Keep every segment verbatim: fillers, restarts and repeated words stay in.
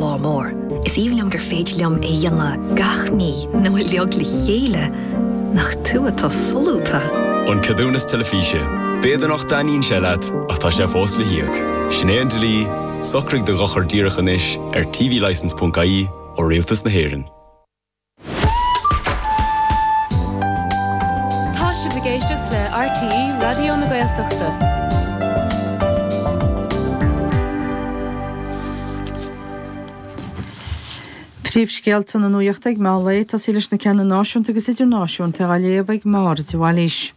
lá mór. Is aoibhinn liom gur féidir liom é dhéanamh gach mí nó uilig le chéile nach tú atá solúbtha. An ceadúnas teilifíse. B'fhéidir nach dtaitníonn sé leat ach tá sé fós le híoc. Sin é an dlí, socraigh do dhochar díreach anois ar tvlicence.ie ó Rialtas na hÉireann. Tá sibh ag éisteacht le RTÉ Raidió na Gaeltachta. Príomhscéalta na nuachta ag meán lae tosaí leis na ceanna náisiúnta agus idirnáisiúnta á léamh ag Máire de Bhailís.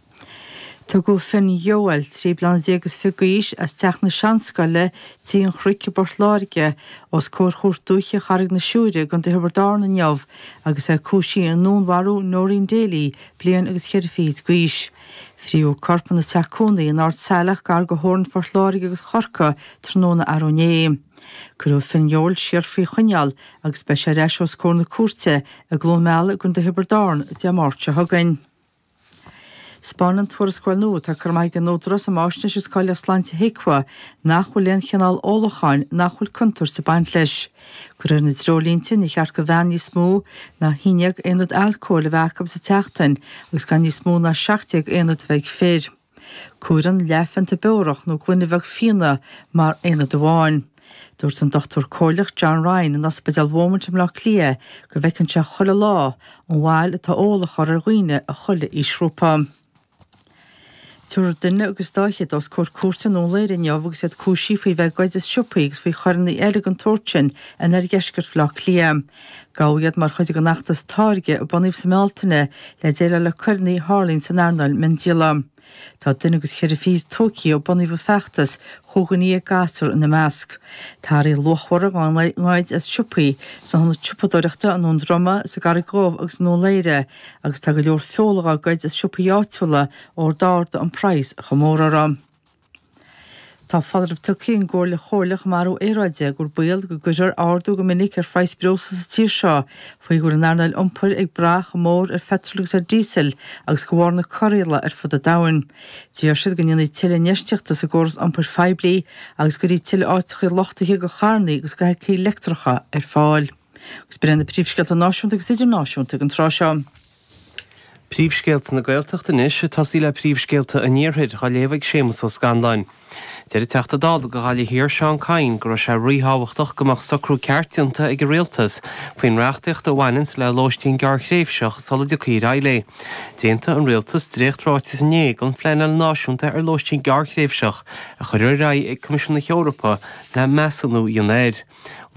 Tugadh Finn Yeowell trí bliana déag agus fiche d'aois as teach na Seanscoile Tí an Chnoic i bPort Láirge os comhair Chúirt Dúiche Charraig na Siúire i gContae Thiobraid Árann inniu agus é cúisithe i ndúnmharú Noreen Daly, bliain agus cheithre fichid d'aois. Fríodh a corp ina teach cónaí in Ard Saileach gar do theorainn Phort Láirge agus Chorcaí tráthnóna arú inné. Cuireadh Finn Yeowell siar faoi choinneáil agus beidh sé ar ais os comhair na cúirte i gCluain Meala i gContae Thiobraid Árann Dé Máirt seo chugainn. 'Spáineann tuarascáil nua atá curtha amach ag an Údarás um Fháisnéis agus Cáilíocht Sláinte HIQA nach bhfuil aon chineál ólacháin nach bhfuil contúirt ag baint leis. De réir na dtreoirlínte, ní cheart do bhean níos mó ná haon déag aonad alcóil a bheith acu sa tseachtain agus gan níos mó ná seacht déag aonad a bheith ag fir. Comhaireann leathphionta beorach nó gloine bheag fíona mar aonad amháin. Dúirt an Dochtúir Comhairleach John Ryan in Ospidéal Beaumont i mBleá Cliath go bhfeiceann sé chuile lá an bhail atá ól a chur ar dhaoine i chuile aoisghrúpa. Tabharfar duine agus dá fhichead os comhair cúirte i nDún Laoghaire inniu agus iad cúisithe faoi bheith ag goid as siopaí agus faoi choireanna eile den tsórt sin in oirdheisceart Bhaile Átha Cliath. Gabhadh iad mar chuid den fheachtas Táirge a bunaíodh sa mBealtaine le déileáil le coireanna a tharlaíonn san earnáil miondíola. Tá duine agus cheithre fichid tógtha ó bunaíodh an feachtas, chúig dhuine dhéag gasúr ina measc. Tá earraí luachmhara dhá ngoid as siopaí sna hionaid siopadóireachta i nDún Droma, sa gCarraig Dhubh agus i nDún Laoghaire agus tá go leor feola dhá goid as siopaí áitiúla ó d'ardaigh an praghas chomh mór orthu. Tá foláireamh tugtha ag an gComhairle Chomhairleach um Athrú Aeráide gur baol go gcuirfear ardú go minic ar phraghas breosla sa tír seo faoi go bhfuil an earnáil iompair ag brath chomh mór ar pheitreal agus ar dhíosal agus de bharr na corraíola ar fud an domhain. D'iarr siad go ndéanfaí tuilleadh infheistíochta sa gcóras iompair phoiblí agus go gcuirfí tuilleadh áiteacha luchtaithe do charranna agus do fheithiclí leictreacha ar fáil. Agus b'in iad na príomhscéalta náisiúnta agus idirnáisiúnta ag an tráth seo. Príomhscéalta na Gaeltachta anois, ag tosaí le príomhscéalta an Iarthair, á léamh ag Séamus Ó Scanláin. Deir an Teachta Dála do Ghaillimh Thiar, Seán Kyne, go raibh sé ríthábhachtach go mbeadh socrú ceart déanta ag an Rialtas faoin reachtaíocht a bhaineanns le lóistín gearrthréimhseach sula dtiocfaí ar aghaidh léi. D'aontaigh an Rialtas dréacht-ráiteas inné don phleanáil náisiúnta ar lóistín gearrthréimhseach a cuireadh ar aghaidh ag Coimisiún na hEorpa le measúnú a dhéanamh air.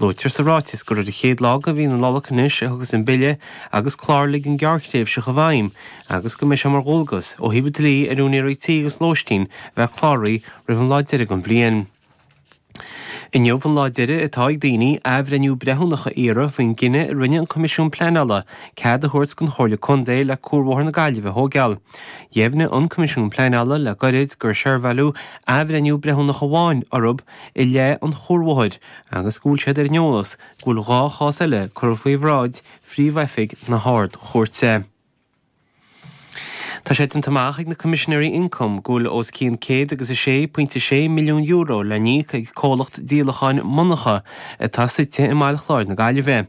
Luaitear sa ráiteas gur ar an chéad lá de mhí na Nollag anois a thiocfas an Bille agus Clár Ligean Gearrthréimhseach i bhfeidhm agus go mbeidh sé mar dhualgas ó thaobh an dlí ar úinéirí tí agus lóistín a bheith cláraithe roimh an lá deiridh den bhliain. Inniu an lá deiridh atá ag daoine athbhreithniú breithiúnach a iarraidh faoin gcinneadh a rinne an Coimisiún Pleanála cead a thabhairt don Chomhairle Contae le Cuarbhóthar na Gaillimhe a thóigeáil. Dheimhnigh an Coimisiún Pleanála le gairid gur seirbheáladh athbhreithniú breithiúnach amháin orthu i leith an chuarbhóthair agus go bhfuil siad ar an eolas go bhfuil dhá chás eile curtha faoi bhráid Phríomh-Oifig na hArd-Chúirte. Tá sé déanta amach ag na Coimisinéirí Ioncaim go bhfuil os cionn céad agus a sé pointe sé milliún euro le n-íoc ag comhlacht díolacháin monarcha atá suite i mBaile Chláir na Gaillimhe.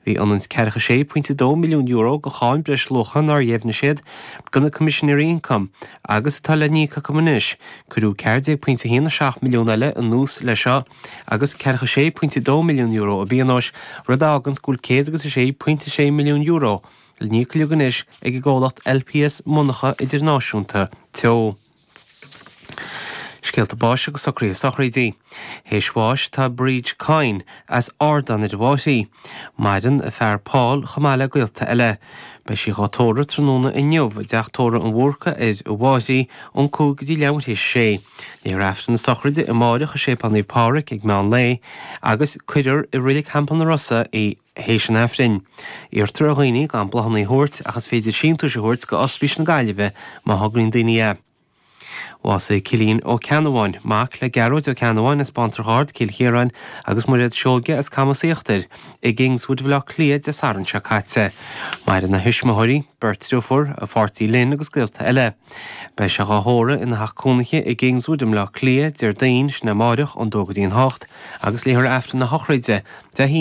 Bhí ionann is ceathracha sé pointe dó milliún euro de cháin breisluacha nár dheimhnigh siad do na Coimisinéirí Ioncaim agus atá le n-íoc acu anois. Cuireadh ceathair déag pointe a haon a seacht milliún eile anuas leis seo agus ceathracha sé pointe dó milliún euro i bpionóis, rud a fháganns go bhfuil céad agus a sé pointe sé milliún euro le n-íoc uilig anois ag an gcomhlacht LPS Monarcha Idirnáisiúnta Teo. Scéalta báis agus socruithe sochraidí. Théis bháis tá Bríd Kyne as Ardán ar an Bhfáithrí. Maireann a fear Paul chomh maith le gaolta eile. Beidh sí dhá tórramh tráthnóna inniu i dTeach Tórraimh an Bhúrca ar an bhFáithrí ón cúig go dtí leathuair théis a sé. Léifear Aifreann na sochraide amáireach i Séipéal Naomh Pádraig ag meán lae agus cuirfear i Reilig Theampall na Rosa í théis an Aifrinn. Iarrtar ar dhaoine gan bláthanna a thabhairt ach is féidir síntiúis a thabhairt go Ospís na Gaillimhe má thograíonn daoine é. Bhásaigh Cillian Ó Ceannabháin, mac le Gearóid Ó Ceannabháin as Bantrach Ard, Cill Chiaráin, agus Mairéad Seoige as Camas Íochtair, i gKingswood Bhaile Átha Cliath Dé Sathairn seo caite. Maireann a thuismitheoirí, beirt driofúr, a pháirtí Lynn agus gaolta eile. Beidh sé dhá thórramh ina theach cónaithe i gKingswood i mBleá Cliath, Déardaoin, sin amáireach, ón dó go dtí an hocht, agus léifear Aifreann na sochraide Dé hAoine,